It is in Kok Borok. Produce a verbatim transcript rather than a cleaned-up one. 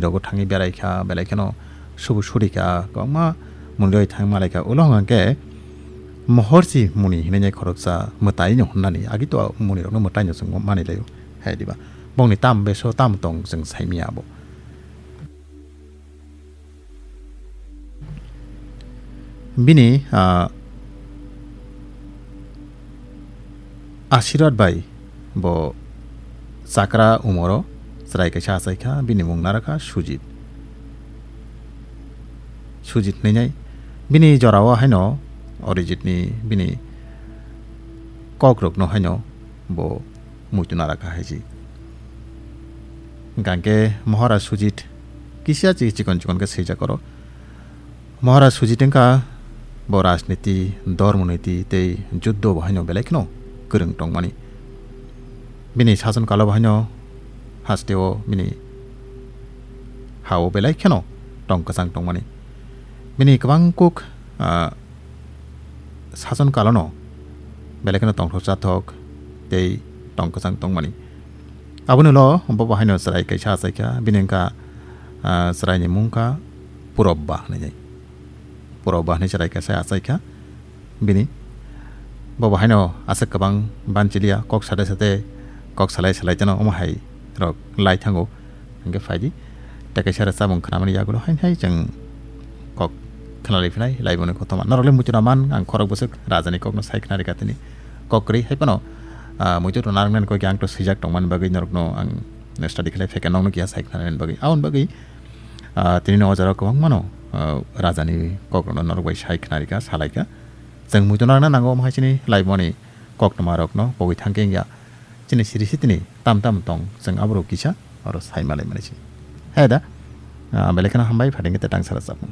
rogo thangwi berai kha, belai kheno subu suri kha, kwbangma muni roi thang malai kha. Ulo hwnkha khe mohorsi muni hinwi khoroksa mwtai no hwnnani, agi to muni rokno mwtai no chwng mani laio. Hai diba? Bongni tam beso tam tong chwng saimanya abo. Bini, ah, Asirwad bai bo chakra umoro chwrai kaisa achai kha, bini mung nara kha Sujit. Sujit hinwi nai. Bini jorao haino Arijitni bini kokrokno haino bo muitu nara kha hai si. Hwnkha khe Maharaj Sujit kisa chi-, chikon chikon khe swijak oro. Maharaj Sujit wngkha bo rajniti, dhormo niti tei juddo bo haino belai kheno kwrwng tongmani. Bini sason kalo bo haino hasteo bini ha-o belai kheno tong kwchang tongmani. Bini kwbang kuk, ah, sason kalono belai kheno tongthok chathok tei tong kwchang tongmani. Aboni ulo bo bo haino chwrai kaisa achai kha, bini wngkha, ah, chwraini mung kha Purobba hinwi. Purobba hinwi chwrai kaisa achai kha bini. Bo bo haino aswk kwbang banchiliya, kok sade sade, kok salai salai teno omo hai rok lai thango. Hwnkhe phaidi, tei kaisa rwchapmung khnamani yagulo haino hai chwng kok khnalai phinai, laiboni kothoma. Norokle muitu rwman, ang khorok bwswk rajani kokno sai khna rwkha tini. Kok kwrwi hai phano, ah, muitu rwna rwknani kok yang to swijak tongmani bagwi norokno ang study khlai phaikha, nokno kiya sai khnanani bagwi. Aboni bagwi, ah, tini no o jora kwbangmano, ah, rajani kokrokno norok bai sai khna rwkha, salaikha. Chwng muitu narwkna nango, omo hai chini laiboni koktwmarokno pogwi thangkhe wngya. Chini siri sitini tam tam tong, chwng aborok kisa oro sai malai mani si. He da, ah, belai kheno hambai, phaidi khe tei tang sara chapmung.